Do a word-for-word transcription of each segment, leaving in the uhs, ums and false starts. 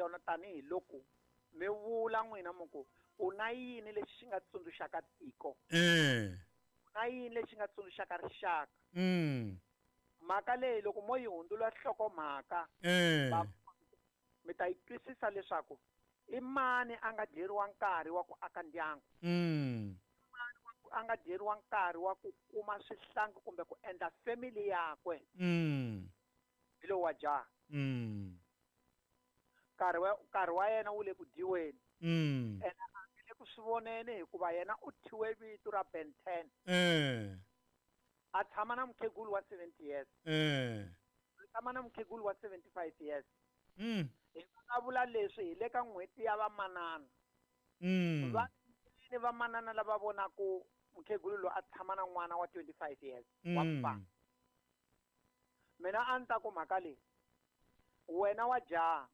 yona tanihiloko mi vula n'wina mi ku u na yini lexi xi nga tsundzuxaka tiko. Eh. U na yini lexi nga tsundzuxaka rixaka. Mm. Mhaka leyi loko mo yi hundzula nhlokomhaka eh. mi ta yi twisisa leswaku i mani a nga dyeriwa nkarhi wa ku aka ndyangu. Mm. A nga dyeriwa nkarhi wa ku kuma swihlangi kumbe ku endla family yakwe. Mm. Hi lowu wa jaha. Mm. Nkarhi wa nkarhi wa yena wu le ku dyiweni. Mm. Ene a nge le ku swi voneni hikuva yena u thyiwe vito ra Ben ten. Eh. A tshama na mukhegulu wa seventy years. Eh. A tshama na mukhegulu wa seventy-five years. Mm. Hi vulavula leswi hi le ka n'hweti ya vamanana. Mm. Va ni vamanana lava vonaku mukhegulu loyi a tshama na n'wana wa twenty-five years wa mfana. Mina a ni ta ku mhaka leyi wena wa jaha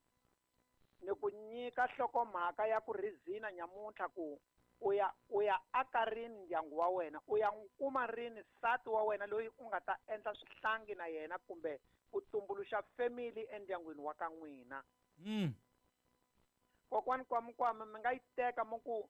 ni ku nyika nhlokomhaka ya ku rizina nyamuntlha ku u ya u ya aka rini ndyangu wa wena, u ya n'wi kuma rini nsati wa wena loyi u nga ta endla swihlangi na yena kumbe ku tumbuluxa family endyangwini wa ka n'wina. Mm. Kokwani Kwamikwami mi nga yi teka mi ku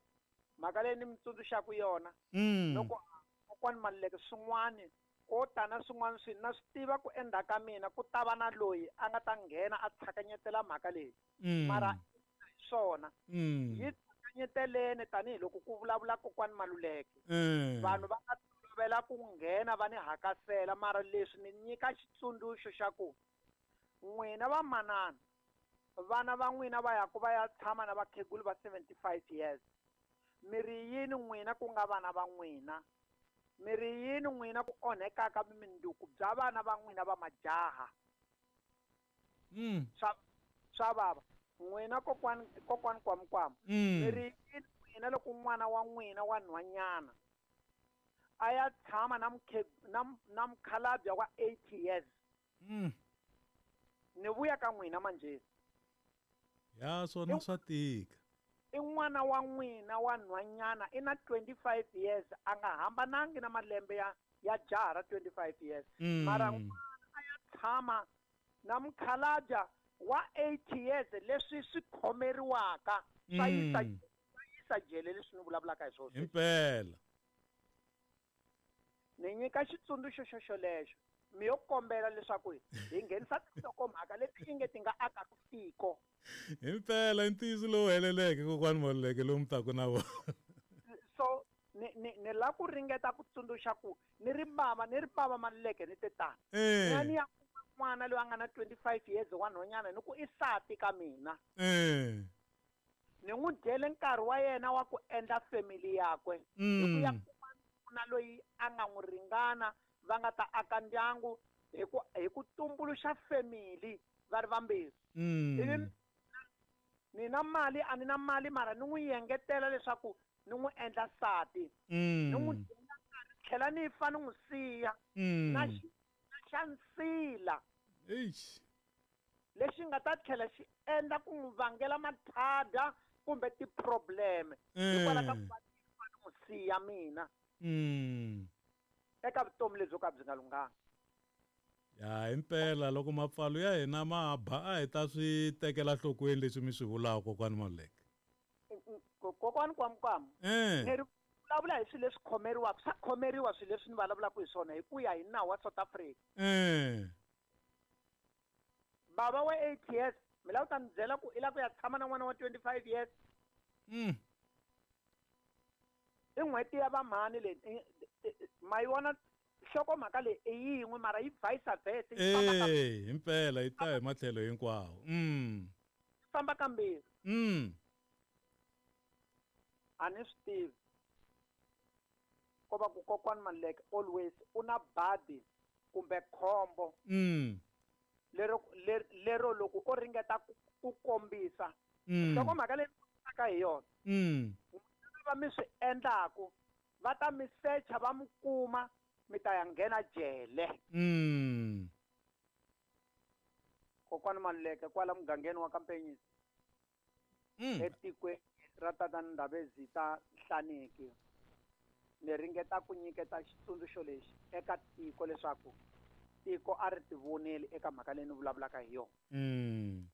mhaka leyi ni mi tsundzuxaka yona. Mm. Loko kokwani Maluleke swin'wani ko tana swin'wana swi na swi tiva ku endzhaku ka mina ku ta va na loyi a nga ta nghena a tshakanyetela mhaka leyi. Mm. Mara hi swona. Mm. Yi tsakanyeteleni tanihiloko ku vulavula kokwani Maluleke. Mm. Vanhu va nga tolovela ku nghena va ni hakasela mara leswi ni nyika xitsundzuxo xa ku n'wina vamanana vana va n'wina va ya ku va ya tshama na vakhegulu va seventy-five years. Mi ri yini n'wina ku nga vana va n'wina? Mi ri yini n'wina ku onhekaka vumundzuku bya vana va n'wina va majaha? Mm. Swa swa vava. N'wina kokwani kokwani Kwamikwami. Mm. Mi ri yini n'wina loko n'wana wa n'wina wa nhwanyana a ya tshama na mukhe na na mukhalabye wa eighty years? Mm. Ni vuya ka n'wina manje. Ya swona swa tika. I n'wana wa n'wina wa nhwanyana i na twenty-five years a nga hambanangi na malembe ya ya jaha ra twenty-five years. Mm. Mara n'wana a ya tshama na mukhalabye wa eighty years leswi swi khomeriwaka swa yisa Mm. swa yisa jele leswi ni vulavulaka hi swona. Himpela. Ni nyika xitsundzuxo xo xolexo mi yo kombela leswaku hi nghenisa tinhlokomhaka leti inge ti nga akaka tiko. Himpela ntiyiso lowu heleleke kokwani Maluleke lowu mi taka na wona. So ni ni ni la ku ringeta ku tsundzuxa ku ni ri bava ni ri bava Maluleke ni te tani. Eh. Ni ya kuma n'wana loyi a nga na twenty-five years wa nhwanyana ni ku i sati ka mina. Eh. Ni n'wi dyele nkarhi wa yena wa ku endla family yakwe. Hi ku ya Mm. kuma nuna loyi a nga n'wi ringana va nga ta aka ndyangu hi ku hi ku tumbuluxa family va ri vambirhi. Mm. Ivi ni na mali a ni na mali mara ni n'wi yengetela leswaku ni n'wi endla nsati. Mm. Ni n'wi dyela nkarhi tlhela ni fa ni n'wi siya. Mm. Na xi na xa nsila. Eish. Lexi nga ta tlhela xi endla ku n'wi vangela mathada kumbe ti-problem. Hikwalaho ka ku va ni fa ni n'wi siya mina. Mm. Eka vutomi lebyo ka byi nga lunghanga. Ya himpela loko mapfalo ya hina ma ba a hi ta swi tekela nhlokweni leswi mi swi vulaka kokwani Maluleke. Kokwani Kwamikwami. Eh. Ni ri vulavula hi swilo leswi khomeriwaka, swa khomeriwa swilo leswi ni vulavulaka hi swona hi ku ya hi nawu wa South Africa. Eh. Bava wa eight years, mi lava ku ta ni byela ku i lava ku ya tshama na n'wana wa twenty-five years. Mm. I n'hweti ya vamhani leyi ma yi vona nhlokomhaka leyi i yin'we mara yi vice versa yi famba ka Eh, himpela yi ta hi matlhelo hinkwawo. Mm. yi famba kambirhi. Mm. A ni swi tivi. Ko va ku kokwani Maluleke always u na badi kumbe khombo. Mm. Lero lero loko o ringeta ku, ku kombisa. Mm. Nhlokomhaka leyi ni hi yona. Mm. Va mi swi endlaku va ta mi secha va mi kuma mi ta ya nghena jele. Mm. Kokwani Maluleke kwala mugangeni wa Kampenyisi. Mm. Etikweni ra Tata Ndabezitha Nhlaneki. Ni ringeta ku nyiketa xitsundzuxo lexi eka tiko leswaku tiko a ri tivoneli eka mhaka leyi ni vulavulaka hi yona. Mm.